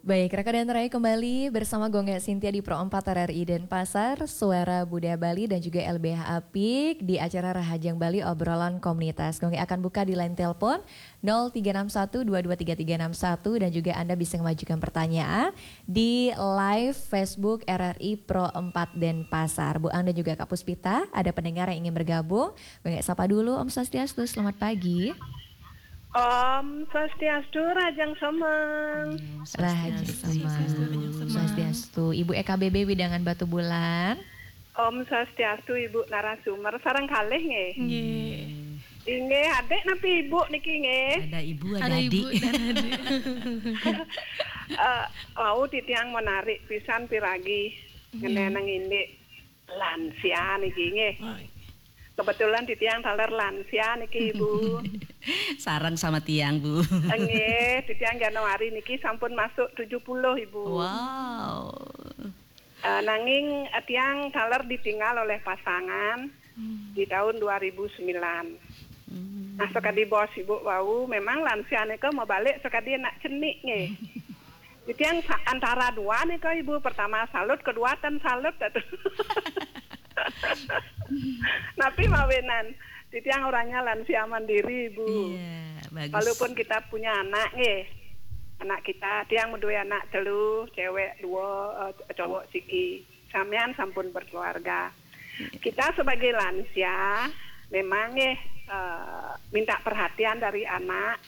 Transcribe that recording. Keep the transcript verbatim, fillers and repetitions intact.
Baik, rekan dan rai, kembali bersama Gue Ngé Sintia di Pro empat R R I Denpasar, Suara Budaya Bali dan juga L B H Apik di acara Rahajeng Bali Obrolan Komunitas. Gue Ngé akan buka di line telepon nol tiga enam satu dua dua tiga tiga enam satu dan juga Anda bisa mengajukan pertanyaan di live Facebook R R I Pro empat Denpasar. Bu Ang dan juga Kak Puspita, ada pendengar yang ingin bergabung. Gue Ngé sapa dulu, Om Swastiastu, selamat pagi. Om Swastiastu, Rahajeng Semeng. Rahajeng Semeng. Swastiastu. Ibu E K B B Widangan Batubulan. Om Swastiastu, Ibu narasumber, sareng kalih nggih. Nggih. Inggih, adik napi ibu niki nggih. Ada ibu, ada, Ada adik. Ibu dan adik. Eh, wau titiang menarik pisan piragi ngenenang indik lansia niki nggih. Kebetulan titiang taler lansia niki, Ibu. Sareng sama tiang, Bu. Nggih, titiang Januari niki sampun masuk tujuh puluh, Ibu. Wow. Eh, nanging, eh, tiang taler ditinggal oleh pasangan di tahun dua ribu sembilan. Nah, sakadi bos Ibu wau, memang lansia nika mabalik sakadi anak cenik nggih. Titiang sa-, antara dua nika, Ibu, pertama salut, kedua ten salut atuh. Napi mawinan, titiang orangnya lansia mandiri, Ibu. Iya, bagus. Walaupun kita punya anak nggih. Anak kita, tiang madué anak telu, cewek dua, eh, cowok siki. Samian sampun berkeluarga. Kita sebagai lansia memang nggih, eh, minta perhatian dari anak,